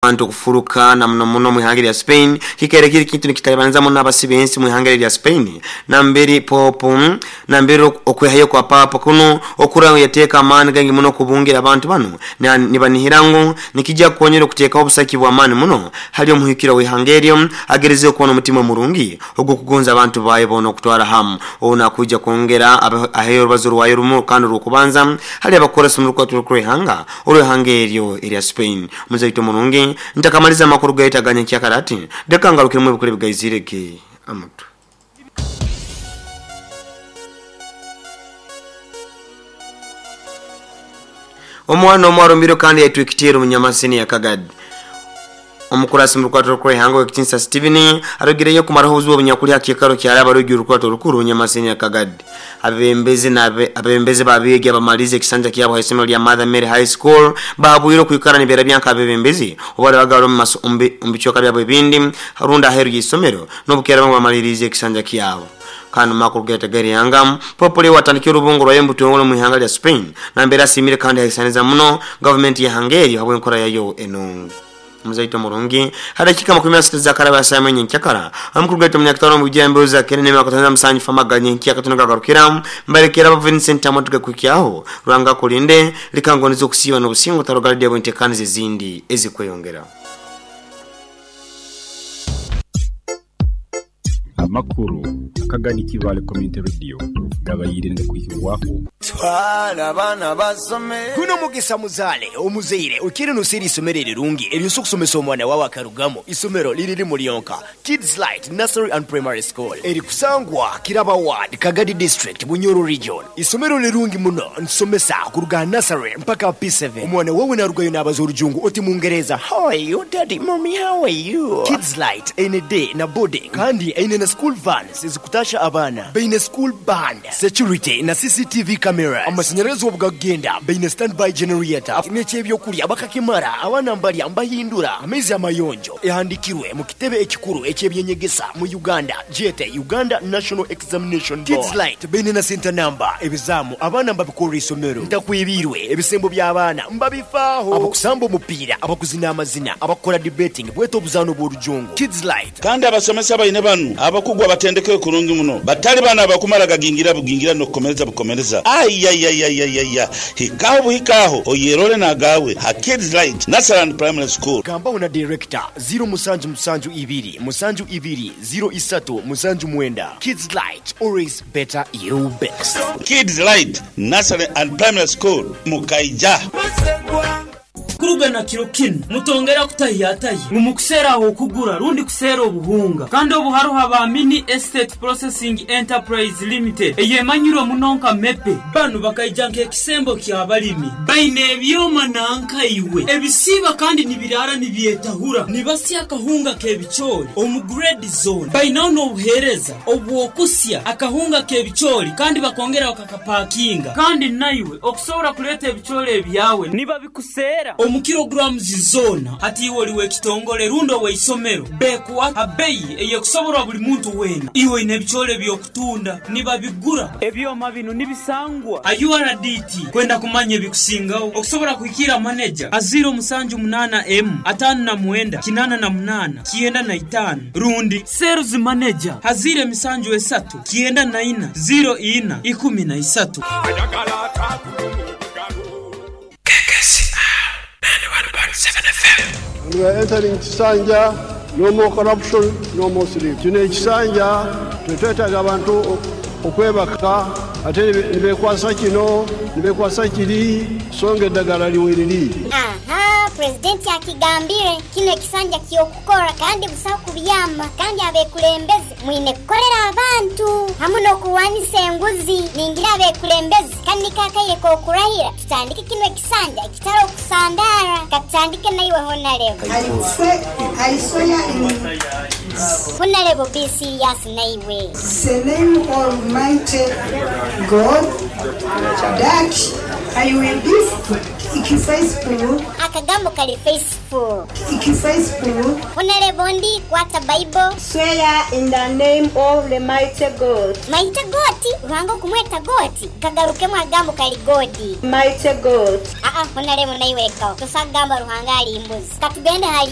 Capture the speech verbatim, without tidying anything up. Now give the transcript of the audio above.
Abantu okufuruka na muno muno mu ihanga lya Spain kikere kiri kintu nikitalibanza muno abasibensi mu ihanga lya Spain namberi popu namberi okwehayo kwa papa kuno okura yateeka amaani gangi muno kubungira abantu bano nibanihirango nikijja kukonyera okuteekaho obusaki bw'amaani muno hali omuhikira w'ihanga eryo agereze okuba n'omutima murungi ogw'okugonza abantu baye boona okutwara hamu ona kuja kwongera aheyo orubazo rwayo rumu kandi rw'okubanza hali abakoresa mu rukwatiro rw'ihanga olw'ihanga eryo erya Spain. Muzaito murungi ntakamaliza amakuru gaitaganya kyakarati dekangarukiremu ebikuru bigaizireke amutu. Omwana omwarumbiro kandi yatwikitira omunyamasini ya Kagadi. Omukurasi mu rukwatiro rw'ihanga w'ekitinsa Steven arogireyo kumaraho obuzibu obunyakuli hakikaro kyaraba rugi urukwatiro rukuru omunyamasini ya Kagadi. Abembezi na abembezi babigi abamalize ekisanja kyabo ha isomero lya Mother Mary High School bahabwire kwikara nibera byanka abembezi obali bagalo mu bicoka byabo ebindi harunda aheru y'isomero n'obukera bamalirize ekisanja kyabo. Kandi makuru geta gari yangam popole watandikira urubungo rwa yembuto mu ihanga lya Spain nambera asimire kandi haisaniza muno government ya Hungary habwe enkora yayo enungi. Muzaito murungi hadakika makumi asatu za karaba samenya nkyakara amukuru gaito munyakitano mu bijambo za kenene makotanza musanyi famaganye nkyaka tunagarukira mbarekera Vincent amotuka kukyaho rwanga kulinde likangonizo kusiba n'obusingo tarogalide bwentekanize zindi ezikweyongera. Amakuru akagani Kivale Community Radio gabayirinde kuhirwaho twala abana basome kuno mugisa muzale omuzeire ukiri nusiri isomero rirungi eryo kusomesa omwana wawe akarugamo isomero liriri mulionka Kids Light Nursery and Primary School eri kusangwa Kiraba Ward, Kagadi District, Bunyoro Region. Isomero lirungi muno nsomesa kuruga nursery mpaka P seven. Omwana wawe narugayo n'abaza orujungu oti mungereza how are you daddy mommy how are you. Kids Light ene day na boarding kandi ene na school vans ezikutasha abana baine school band security na C C T V cameras amashanyarazi obugagenda baine standby generator n'ekyebyokulya bakakimara abana mbalya mbahindura amaizi amayonjo ehandikirwe mu kitebe ekikuru ekyebyenyegesa mu Uganda jete Uganda National Examination Board. Kids Light baine na center number ebizamu abana mbabikora isomero ntakwibirwe ebisembo by'abaana mbabifaaho abakusamba omupiira abakuzina amazina abakora debating bweto obuzano bw'orujungu Kids Light kandi abasomesa baine banu abakugwa batendeke kurungi muno batali bana abakumara gagingira bugingira no kukomereza bukomereza ayayayayaya hikaho buhikaho oyerole nagawe ha Kids Light Nursery and Primary School. Gamba una director zero musanju musanju ibiri musanju ibiri zero isatu musanju mwenda. Kids Light always better you best. Kids Light Nursery and Primary School mukaija kuruga na kiro kino mutongera kutahiyataye mumukusera aho kugura rundi kusera obuhunga kandi obuharuha ba Mini Estate Processing Enterprise Limited eyemanyiro munonka mepe banu bakaijanka ekisembo kya balimi baine ebyoma nanka iwe ebisiba kandi nibirara nibyetahura nibasya akahunga kebichori omu grade zone bainaho n'obuhereza obwokusya akahunga kebichori kandi bakongera bakakapakinga kandi naiwe okusobora kuleta ebichori ebyawe niba bikusera omu kilograms zona hati iwe oliwe ekitongole rundo weisomero bekuwa abeyi eyekusoborwa buli muntu wena iwe ine ebichole byokutunda nibabigura ebyoma bino nibisangwa a U R D T kwenda kumanya ebikusingaho okusobora kuhikira manager aziro musanju munana m atano na mwenda kinana na munana kienda na itano rundi sales manager hazire misanju esatu kienda na ina zero ina ikumi na isatu. We are entering Kisanja, no more corruption, no more sleep. Kino ekisanja tetwetaaga abantu okwebaka ate ne beekwasa kino ne beekwasa kiri songa eddagala liweriri. Aha, pulezidenti akigambire kino ekisanja ky'okukora kandi busaho kubyama kandi abekulembeze mwine kukolera abantu hamu n'okuwanisa enguzi ningira abekulembeze kandi kakaire k'okurahira tutandike kino ekisanja ekitari okusandara katutandike naiwe honarebo. I swear in Honarebo be serious naiwe. The name of Almighty God that I will be faithful. Akagambo kali faithful. Faithful. Honorable ndi kwata Bible. Swear in the name of the mighty God. Mighty God? Ruhango kumweta God. Kagarukemu agambo kali God. Mighty God. Ah ah, honorable naiwe kao. Tusagamba Ruhanga ali imbuzi. Katugende hali